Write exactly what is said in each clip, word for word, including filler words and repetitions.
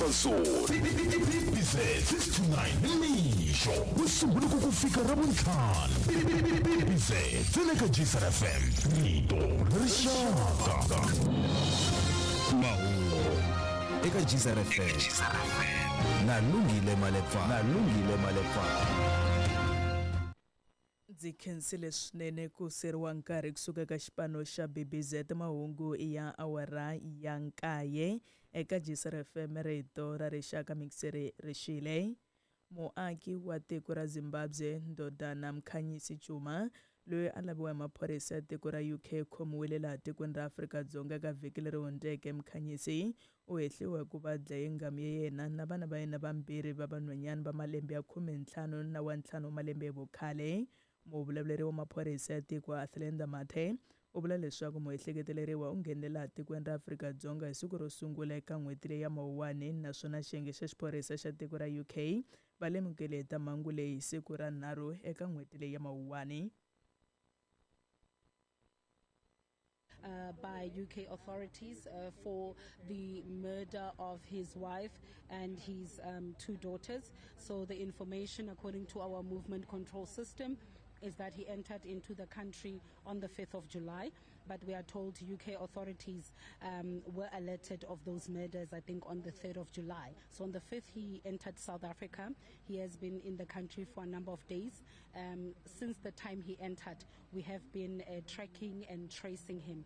Safa Zone B B Z six to nine nimixo ku ku fika Ravuntlhanu. B B Z tsena ka G S R F M, rito ra rixaka. Mahungu eka G S R F M na Lungile Malepa, na Lungile Malepa. Ndzi khensile swinene ku seriwa nkarhi kusuka ka xipano xa B B Z. Mahungu ya awara ya nkaye eka G S R F M, rito ra rixaka. Mixere rixile. Muaki wa tiko ra Zimbabwe Ndodana Mkhanyisi Chuma, loyi a laviwa hi maphorisa ya tiko ra U K, khomiwile laha tikweni ra Afrika-Dzonga ka vhiki leri hundzeke. Mkhanyisi u hehliwa hi ku va dlaye nghamu ya yena na vana va yena vambirhi va vanhwanyana va malembe ya khume ntlhanu na wa ntlhanu wa malembe hi vukhale. Muvulavuleri wa maphorisa ya tiko Athlenda Mathe u vula leswaku muehleketeleriwa u nghenele laha tikweni ra Afrika-Dzonga hi siku ro sungula eka n'hweti leyi ya Mawuwani, naswona xiyenge xa xiphorisa xa tiko ra U K va lemukile hi ta mhangu leyi hi siku ra nharhu eka n'hweti leyi ya Mawuwani. uh, by U K authorities uh, for the murder of his wife and his um, two daughters. So the information, according to our movement control system, is that he entered into the country on the fifth of July, but we are told U K authorities um, were alerted of those murders, I think, on the third of July. So on the fifth, he entered South Africa. He has been in the country for a number of days. Um, since the time he entered, we have been uh, tracking and tracing him.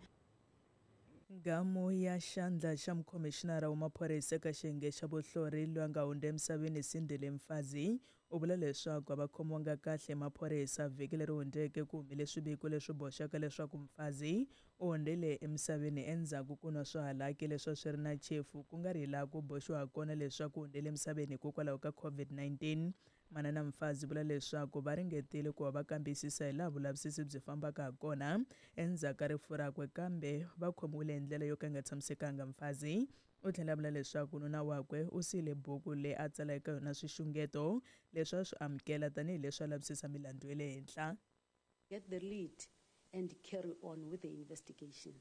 Nghamu ya xandla xa mukhomixinara wa maphorisa eka xiyenge xa vuhlori, loyi a nga hundza emisaveni Sindile Mfazi, u vula leswaku a va khomiwanga kahle maphorisa. Vhiki leri hundzeke ku humile swiviko leswi boxaka leswaku Mfazi u hundzile emisaveni endzhaku ku nwa swihalaki leswi a swi ri na chefu, ku nga ri hi laha ku boxiwa kona leswaku u hundzile emisaveni hikokwalaho ka COVID nineteen. Manana Mfazi vula leswaku va ringetile ku va va kambisisa hi laha vulavisisi byi fambaka ha kona endzhaku ka rifu rakwe, kambe va khomiwile hi ndlela yo ka yi nga tshamisekanga. Mfazi u tlhela a vula leswaku nuna wakwe u siyile buku leyi a tsala eka yona swixungeto leswi a swi amukela tanihileswi a lavisisa milandzu ya le henhla. Get the lead and carry on with the investigation.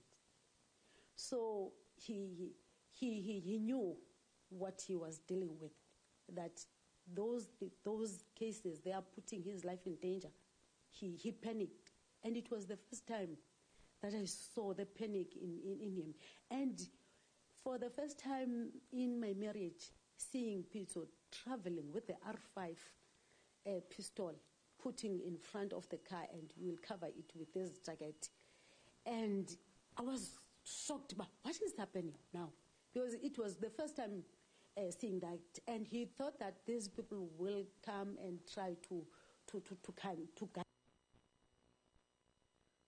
So he, he, he, he knew what he was dealing with, that those, those cases, they are putting his life in danger. He, he panicked. And it was the first time that I saw the panic in, in, in him. And for the first time in my marriage, seeing Peter traveling with the R five uh, pistol, putting in front of the car, and we'll cover it with this jacket. And I was shocked, but what is happening now? Because it was the first time uh, seeing that. And he thought that these people will come and try to, to, to, to, come, to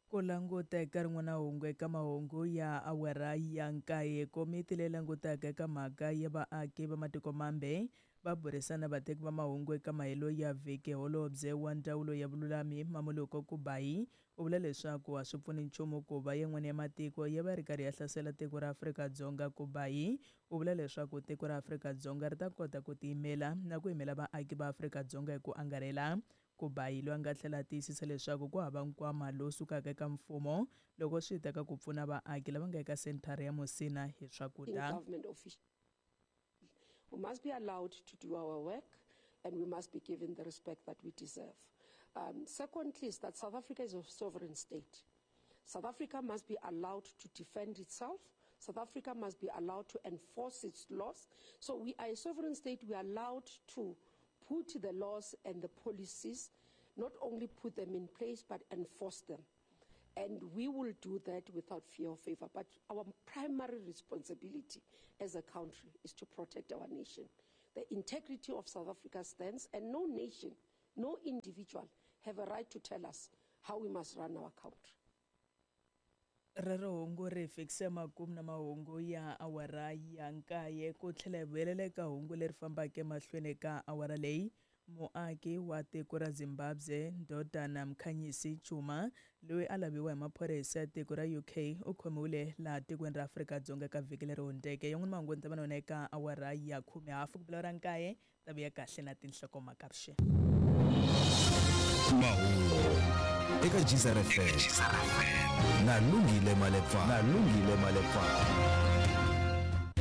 Ku languta eka rin'wana hungu eka mahungu ya awara ya nkaye, komiti leyi langutaka eka mhaka ya vaaki va matiko mambe va burisana vateki va mahungu eka mahelo ya vhiki. Holobye wa ndzawulo ya vululami Mmamoloko Kubayi u vula leswaku a swi pfuni nchumu ku va yin'wana ya matiko ya va ri karhi ya hlasela tiko ra Afrika-Dzonga. Kubayi u vula leswaku tiko ra Afrika-Dzonga ri ta kota ku tiyimela na ku yimela vaaki va Afrika-Dzonga hi ku angarhela. Kubayi loyi a nga tlhela a tiyisisa leswaku ku hava nkwama lowu sukaka eka mfumo loko swi ta ka ku pfuna vaaki lava nga eka senthara ya Musina hi swakudya. Government official. We must be allowed to do our work and we must be given the respect that we deserve. Um, secondly, is that South Africa is a sovereign state. South Africa must be allowed to defend itself. South Africa must be allowed to enforce its laws. So we are a sovereign state. We are allowed to put the laws and the policies, not only put them in place, but enforce them. And we will do that without fear or favor. But our primary responsibility as a country is to protect our nation. The integrity of South Africa stands, and no nation, no individual have a right to tell us how we must run our country. Rero hungu ri fikise makumu na mahungu ya awara ya nkaye. Ku tlhela hi vuyelela eka hungu leri fambaka emahlweni ka awara leyi, muaki wa tiko ra Zimbabwe Ndodana Mkhanyisi Chuma, loyi a laviwa hi maphorisa ya tiko ra U K, u khomiwile laha tikweni ra Afrika-Dzonga ka vhiki leri hundzeke. Yan'wana mahungu ni ta va na yona eka awara ya khume hafu ku bila ra nkaye. Ta vuya kahle na tinhlokomhaka vuxeni. Mahungu eka G S R F M na Lungile Malepa, na Lungile Malepa.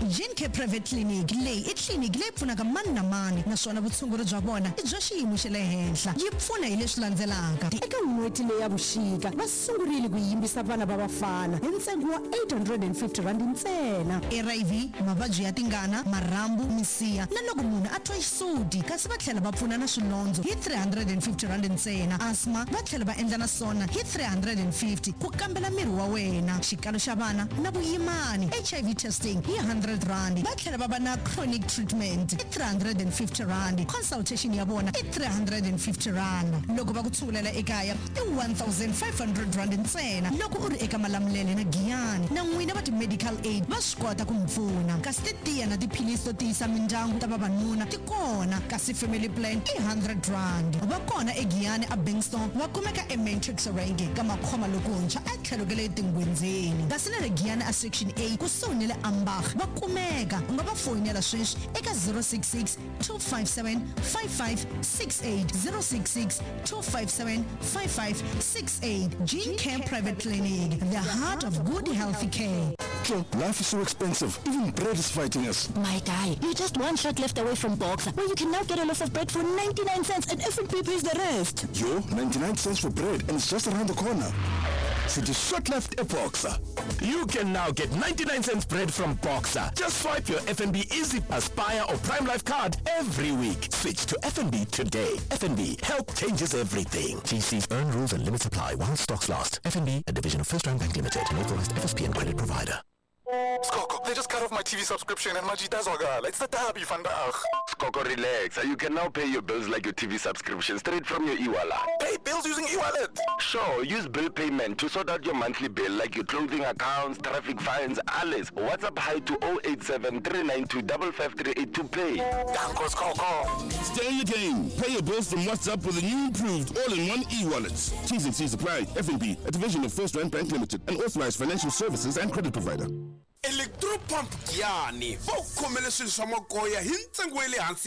Gene Care Private Clinic leyi i tliliniki leyi pfunaka mani na mani naswona vutshunguri bya vona i bya xiyimo xa le henhla. Yi pfuna hi leswi landzelaka. Eka n'hweti leyi ya vuxika va sungurile ku yimbisa vana va vafana hi ntsengo wa eight hundred and fifty rand ntsena. H I V, mavabyi ya tingana, marhambu, misiha na loko munhu a twa xisuti, kasi va tlhela va pfuna na swilondzo hi three hundred and fifty rand ntsena. Asthma va tlhela va endla na swona hi three hundred and fifty, ku kambela miri wa wena, xikalo xa vana na vuyimani, H I V testing hi one hundred rand. Va tlhela va va na chronic treatment i three hundred and fifty rand. Consultation ya vona i three hundred and fifty rand. Loko va ku tshungulela ekaya i one thousand five hundred rand ntsena loko u ri eka Malamulele na Giyani. Na n'wina va ti-medical aid va swi kota ku mi pfuna, kasi titiya na tiphilisi to tiyisa mindyangu ta vavanuna ti kona, kasi family plan i one hundred rand. Va kona eGiyani a Bankston, va kumeka eMatrix Range ka Makhoma lokuntshwa a tlhelo ka le Tingwenzeni, kasi na le Giyani a Section A kusuhi ni le Ambach va kumeka. U nga va foyinela sweswi eka zero six six two five seven five five six eight, zero six six two five seven five five six eight. Gene Care Private Clinic, the heart of good healthy care. Life is so expensive. Even bread is fighting us. My guy, you're just one shot left away from Boxer, where you can now get a loaf of bread for ninety-nine cents and F N B pays the rest. Yo, ninety-nine cents for bread and it's just around the corner. City shot left a Boxer. You can now get ninety-nine cents bread from Boxer. Just swipe your F N B Easy Aspire or Prime Life card every week. Switch to F N B today. F N B, help changes everything. T Cs earn rules and limits apply while stocks last. F N B, a division of First Rand Bank Limited, an authorized F S P and credit provider. Skoko, they just cut off my T V subscription and majita zwakala. It's the derby vandag. Skoko, relax. You can now pay your bills like your T V subscription straight from your e-wallet. Pay bills using e-wallet? Sure, use bill payment to sort out your monthly bill like your clothing accounts, traffic fines, alles. WhatsApp hi to oh eight seven three nine two five five three eight to pay. Danko, Skoko. Stay in the game. Pay your bills from WhatsApp with the new improved all-in-one e-wallet. T's and C's apply. F N B, a division of First Rand Bank Limited, an authorized financial services and credit provider. Electropump Giyani va ku khomele swilo swa magoya hi ntsengo wa le hansi.